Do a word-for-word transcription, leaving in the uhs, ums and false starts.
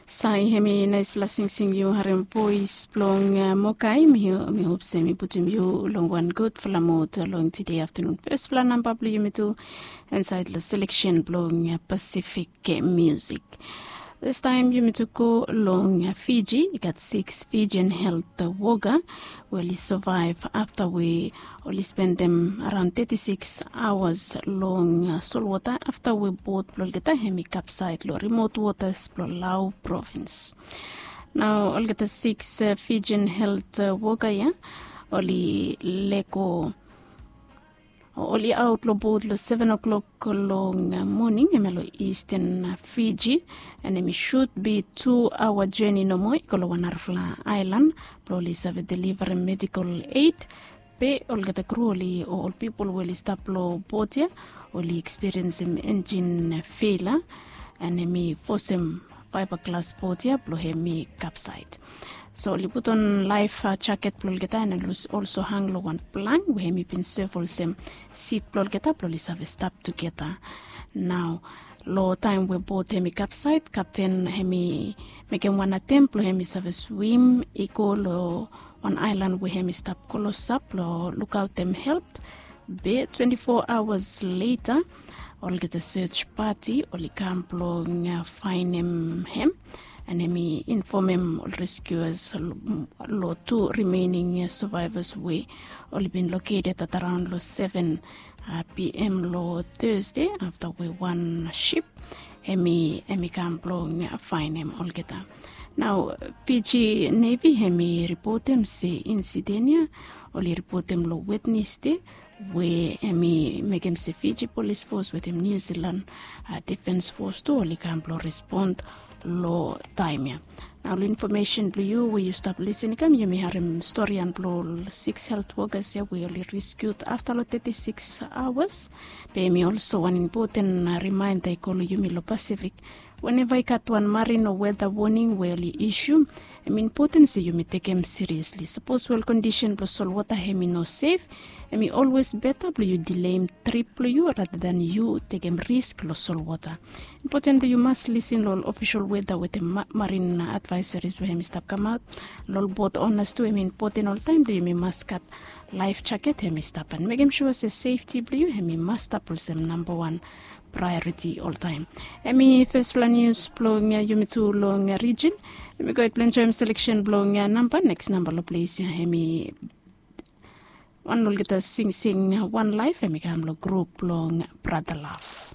Sai, hemi naispela singsing yu harim voes blong Mokai. Mi hop se mi putum yu long wan gudfala mud long tide aftanun. Fespela namba blong yumi tu insait long seleksen blong Pasifik musik. Distaim yumi tu go long Fiji. I gat siks Fijian helt woka we oli savaev afta we oli spendem araon teti siks aoas long solwota afta we bot blong olgeta hemi kapsaed long rimot wotas blong Lau provins. Nao olgeta siks Fijian helt woka ya oli lego oli aot long bot long seven o'clock long moning hemia long Eastern Fiji. An hemi sut bi tu aoa jeni nomo i go long wan narafala aelan blong oli save delivarem medikal ed. Be olgeta kru oli o ol pipol we oli stap long bot ya oli ekspiriensim enjin feila, an hemi fosem faibaglas bot ya blong hemi kapsaed. So oli putum laef jaket blong olgeta an oli olso hang long wan plang we hemi bin sev olsem sit blong olgeta blong oli save stap tugeta. Nao long taem we bot hemi kapsaed, kapten hemi mekem wan atem blong hemi save swim i go long wan aelan we hemi stap klosap blong lukaotem help. Be twenti fo aoas leta olgeta sej pati oli kam blong faenem hem, an hemi infomem ol reskiuas long tu rimening savaevas we oli bin loketed at araon long seven pm long Thursday afta we wan sip hemi hemi kam blong faenem olgeta. Nao Fiji Nevi hemi ripotem se insiden ya oli ripotem long Wednesday we hemi mekem se Fiji Polis Fos wetem Niu Silan Defens Fos tu oli kam blong respon long taem ya. Nao long infomesen blong yu we yu stap lisin i kam, yumi harim storian blong ol siks helt wokas ya we oli reskiut afta long teti siks aoas. Be hemi olso wan impoten rimaenda i go long yumi long Pasifik. Weneva i gat wan marin o weda woning we oli isu, hemi impoten se yumi tekem siriesli. Sapos we ol kondisen blong solwota hemi no sef, hemi olwes beta blong yu dileim trip blong yu rata dan yu tekem risk long solwota. Impoten blong yu mas lisin long ol ofisol weda wetem marin advaesaris we hemi stap kamaot. Long ol bot onas tu hemi impoten oltaem blong yumi mas gat laef jaket hemi stap an mekem sua se sefti blong yu hemi mas stap olsem namba wan praeoriti oltaem. Hemi fesfala nius blong yumi tu long rijin. Yumi go hed blong enjoem seleksen blong namba. Neks namba long ples ya hemi wan long olgeta singsing Wan Laef hemi kam long grup blong Brata Lav.